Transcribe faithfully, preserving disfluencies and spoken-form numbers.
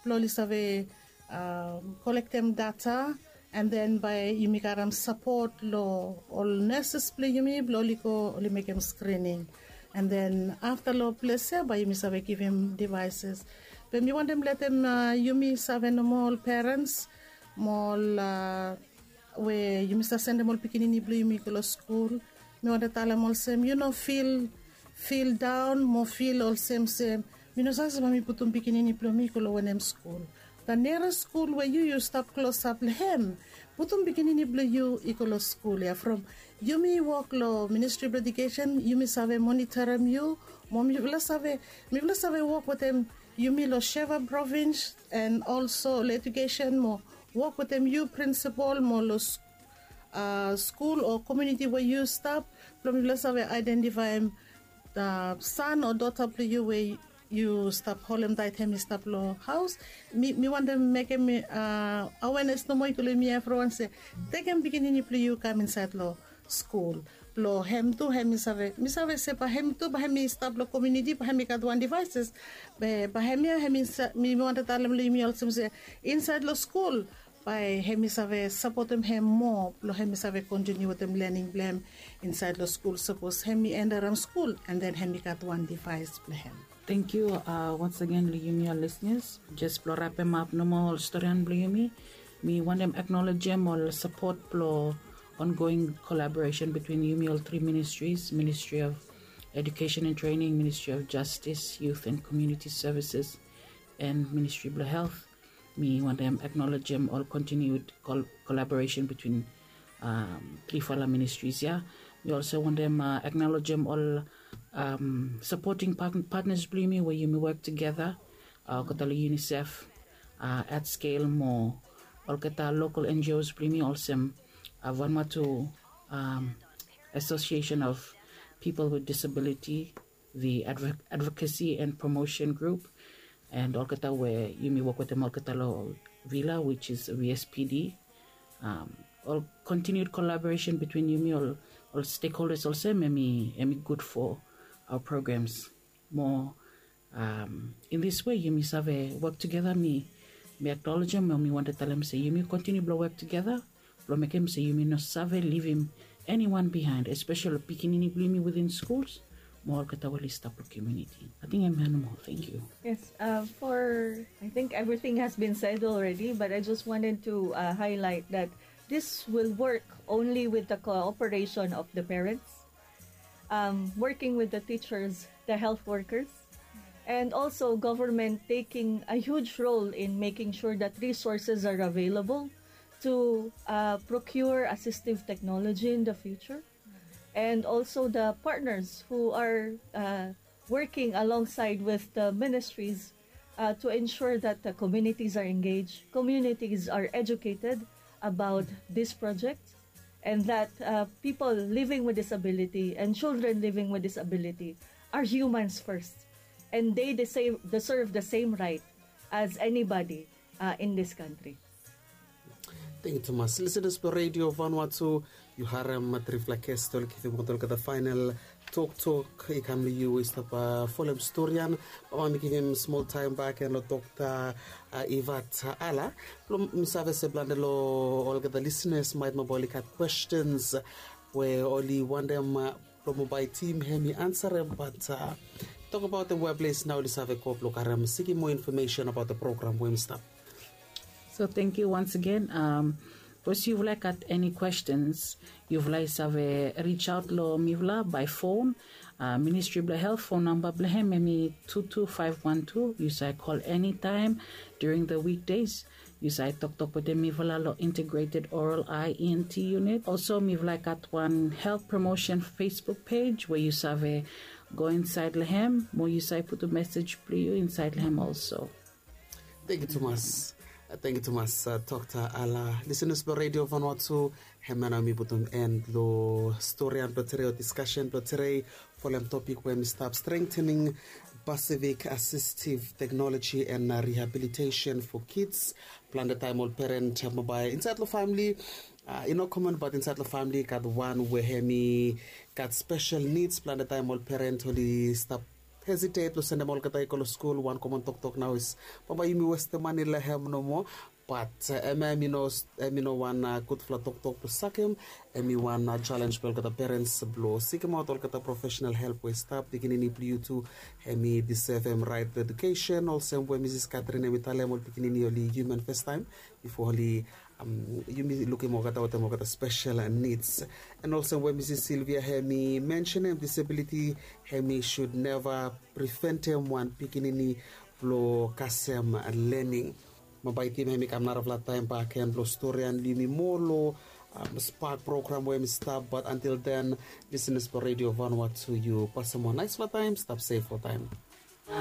blong oli save kolektem data, and then bae yumi gat sapot long ol nurses blong yumi blong oli go oli mekem screening. And then afta long ples ya bae yumi save givim devices. Be mi wantem letem yumi save nomo ol perens mo ol we yumi save sendem ol pikinini blong yumi go long skul. Mi wantem talem olsem yu no fil fil daon mo fil olsem se mi no save se bae mi putum pikinini blong mi go long wanem skul. Da nera skul we yu yu stap klosap long hem, putum pikinini blong yu i go long skul ya from yumi wok long ministri blong edikesen yumi save monitorim yu. Mo mifala save mifala save wok wetem yumi long sheva provins and olso long edikesen mo wok wetem yu prinsipal mo long skul o komuniti we yu stap blong mifala save aedentifaim san o dota blong yu we yu stap holem daet hem i stap long haos. Mi wantem mekem awenes nomo i go long yumi evriwan se tekem pikinini blong yu kam insaed long skul blong hem tu hem i save mi save se bae hem tu bae hem i stap long komuniti bae hem i gat wan devaeses. Be bae hem ya hem i mi wantem talem long yumi olsem se insaed long skul bae hem i save sapotem hem moa blong hem i save kontiniu wetem lening blong hem insaed long skul sapos hem i endaram skul and then hem i gat wan devaes blong hem. Thank you. Once again long yumi ol listeners, jes blong rapemap nomo ol storian blong yumi, mi wantem acknowledgem ol sapot blong ongoing collaboration between yumi ol three ministries, Ministry of Education and Training, Ministry of Justice, Youth and Community Services, and Ministry blong Health. Mi wantem acknowledgem ol continued collaboration between trifala ministries ya. Mi also wantem acknowledgem ol supporting partners blong yumi we yumi work together, olgeta long UNICEF, at scale mo olgeta local NGOs blong yumi olsem Vanuatu Association of People with Disability, the Advocacy and Promotion Group, and olgeta we yumi wok wetem olgeta long VILA, which is VSPD. Ol continued collaboration between yumi ol stakeholders olsem em i good for our programs. Mo in this way yumi save work together. Mi mi acknowledgem mo mi wantem talem se yumi continue blong work together blong mekem se yumi no save livim anyone behind, especially pikinini blong yumi within schools mo olgeta we oli stap long community. I think em ya nomo. Thank you. Yes, uh, for I think everything has been said already, but I just wanted to uh, highlight that this will work only with the cooperation of the parents, um, working with the teachers, the health workers, and also government taking a huge role in making sure that resources are available to uh, procure assistive technology in the future, and also the partners who are uh, working alongside with the ministries uh, to ensure that the communities are engaged, communities are educated about this project, and that uh, people living with disability and children living with disability are humans first, and they deserve, deserve the same right as anybody uh, in this country. Thank you, Thomas. Listeners for Radio Vanuatu, yu harem trifala ges oli givim olgeta final toktok i kam long yu i stap folem storian. Bambae mi givim smol taem bak en long Dokta Ivat Ala blong mi save se plante long olgeta listeners maet mobile i gat questions we oli wantem blong mobile team hem i ansarem, bat tokbaot em weples nao oli save go blong karem sikim moa infomesen abaot da program we hem i stap. So thank you once again. Um, bikos yufala i gat eni questions, yufala i save reach out long mifala by phone. Uh, Ministry blong Health phone number blong hem em i two two five one two. Yu save call anytime during the weekdays. Yu save toktok wetem mifala long Integrated Oral Eye ENT unit. Also mifala i gat wan health promotion Facebook page we yu save go insaed long hem mo yu save putum message blong yu insaed long hem also. Thank you tumas. Thank you tumas, Dokta Ala. Listeners blong Radio Vanuatu, hemia nao mi putum en long storian blong tere o discussion blong tere folem topik we mi stap strengthening Pacific Assistive Technology and Rehabilitation for Kids. Plante taem ol peren mobile insaed long famili, i no common, bat insaed long famili i gat wan we hem i gat special needs. Plante taem ol peren oli stap hesitate lo sendem olgeta i go lo skul wan komon toktok nao is bambae yumi westem mane long hem nomo. Bat em ya em i no wan gudfala toktok blong sakem. Em i wan jalenj blong olgeta perens blong sikimaot olgeta profesenal help we i stap pikinini blong yu tu. Em i disevem rait blong edukesen olsem we misis katrin em i talem ol pikinini oli hiuman fastaem bifo oli yumi lukim olgeta wetem olgeta spesel nids. En olsem we misis silvia em i mensenem disabiliti em i sud neva priventem wan pikinini blong kasem lening. Bambae i tim em i kam narafala taem baken blong storian long yumi moa long spak program we em i stap bat antil den, lisenas blong redio vanua tu yu pasem wan naisfala taem stap sef oltaem.